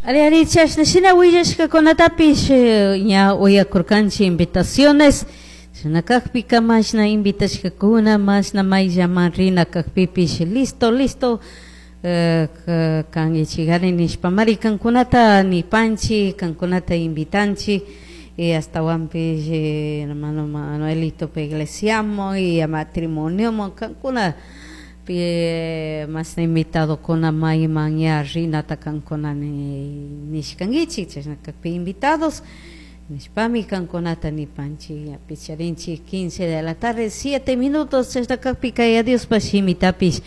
Ari ari chashna shina willashkakunatapish ña uyakurkanchik invitaciones shina kakpika mashna invitashkakuna mashna mayllaman rina kakpipish listo listo kankichikari nishpamari kankunata nipanchik kankunata invitanchik y astawanpish hermano Manuelito iglesiaman y a matrimonioman kankuna mashna invitadokuna mayman ña rinata kankuna nishkankichik chashna kakpi invitados nishpami kankunata nipanchik ña picharinchik 15 de la tarde 7 minutos chashna kakpika Yaya Diospa shimitapish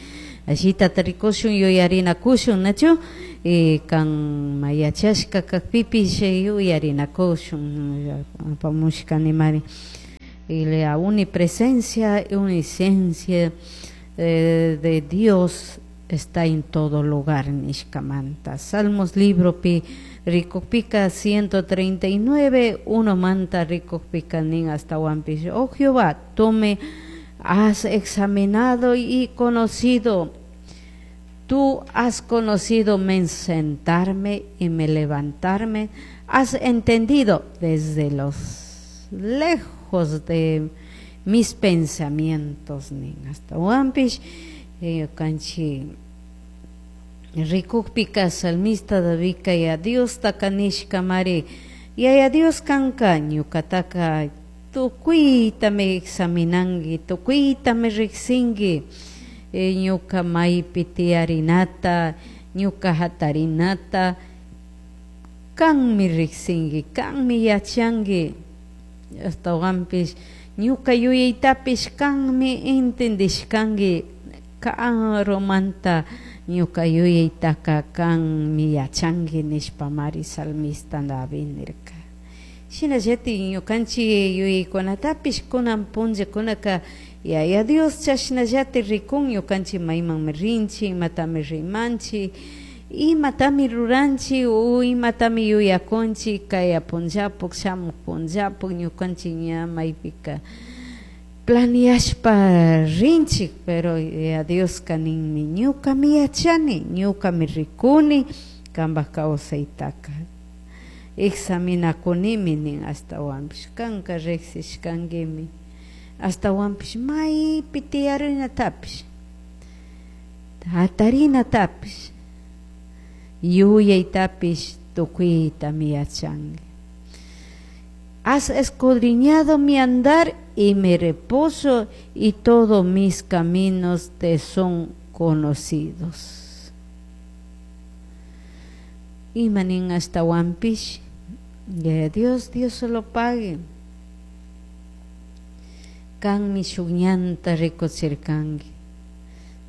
allitata rikushun yuyarinakushun nachu y kan yachashka kakpipish yuyarinakushun apamushkanimari y la unipresencia y omnisciencia de Dios está en todo lugar nishkamanta Salmos libropi rikukpika 139 unomanta rikukpika nin astawanpish oh Jehová, tú me has examinado y conocido. Tú has conocido mi sentarme y mi levantarme. Has entendido desde los lejos de mis pensamientos nin astawanpish ñukanchik rikukpika salmista Davidka ya Diostaka nishkamari Yaya Dios kanka ñukataka tukuytami examinanki tukuytami riksinki ñuka maypi tiyarinata ñuka hatarinata kanmi riksinki kanmi yachanki astawanpish ñuka yuyaytapish kanmi entendishkanki karumanta ñuka yuyaytaka kanmi yachanki nishpamari salmista David nirka shinallatik ñukanchik yuyaykunatapish kunan punllakunaka Yaya Dios chashnallatik rikun ñukanchik maymanmi rinchik imatami rimanchik imatami ruranchik o imatami yuyakunchik kaya punllapuk shamuk punllapuk ñukanchik ña maypika planeashpa rinchik pero Yaya Dioska ninmi ñukami yachani ñukami rikuni kanpak kawsaytaka examinakunimi nin ashtawanpish kanka riksishkankimi ashtawanpish maypi tiyarinatapish hatarinatapish yuyaytapish tukuytami yachanki. Has escudriñado mi andar y mi reposo y todos mis caminos te son conocidos. Ima nin ashtawanpish Yaya Dios, Dios se lo pague. Kanmi shuk ñanta rikuchirkanki.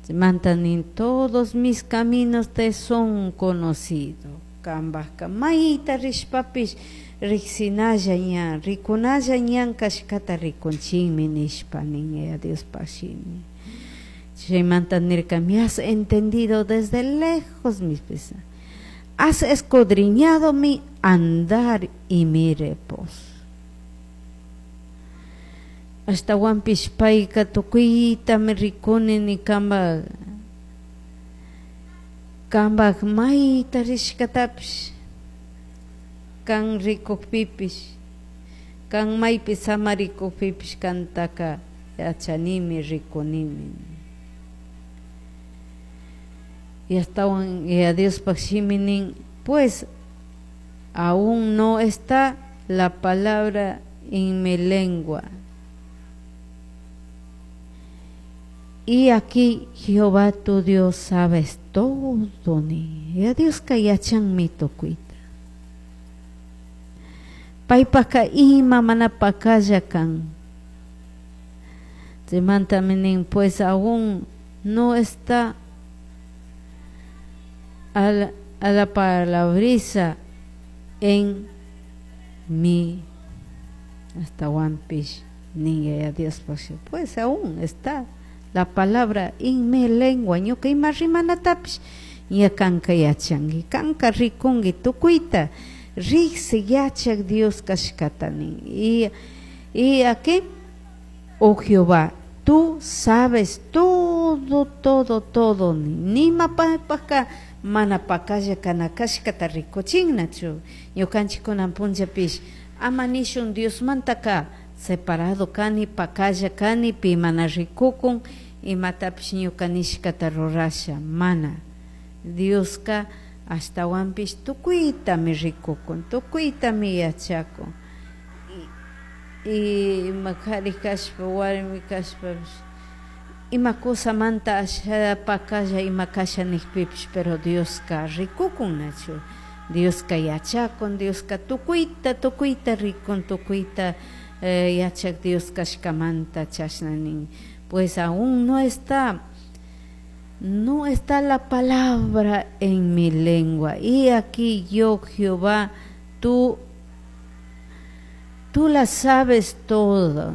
Chaymanta nin todos mis caminos te son conocidos. Kanpakka mayta rishpapish riksinalla ñan rikunalla ñan kashkata rikunchikmi nishpa nin Yaya Diospak shimi. Chaymanta nirka me has entendido desde lejos mis pensamientos. Has escudriñado mi andar y mi reposo. Ashtawanpish payka tukuytami rikuni ni kanpak kanpak mayta rishkatapish kan rikukpipish kan maypi samarikukpipish kantaka yachanimi rikunimi. Y ashtawan Yaya Diospak shimi nin pues aún no está la palabra en mi lengua. Y aquí Jehová tu Dios sabes todo ni. Yaya Dioska yachanmi tukuyta. Paypaka ima mana pakalla kan. Chaymantami nin pues aún no está a la palabrisa en mi astawanpish nin Yaya Diospak pues aún está la palabra en mi lengua ñuka ima rimanatapish ña kanka yachanki kanka rikunki tukuyta riksi yachak Dios kashkata nin y aquí oh Jehová tú sabes todo, todo, todo. Nima paypaka mana pacalla kana kashkata rikuchinnachu. Ñukanchik kunan punllapish ama nishun Diosmantaka separado kani, pacalla kani, pi mana rikukun, imatapish ñuka nishkata rurasha, mana. Dioska ashtawanpish tukuytami rikukun, tukuytami yachakun. Y ima kari kashpa, warmi kashpapish ima cusamanta asha pacalla ima kasha nikpipish, pero Dioska rikukun, nachu? Dioska yachakun, Dioska tukuyta, tukuyta rikun, tukuyta yachak Dios kashkamanta chashna nin. Pues aún no está la palabra en mi lengua. Y aquí yo, Jehová, tú la sabes todo.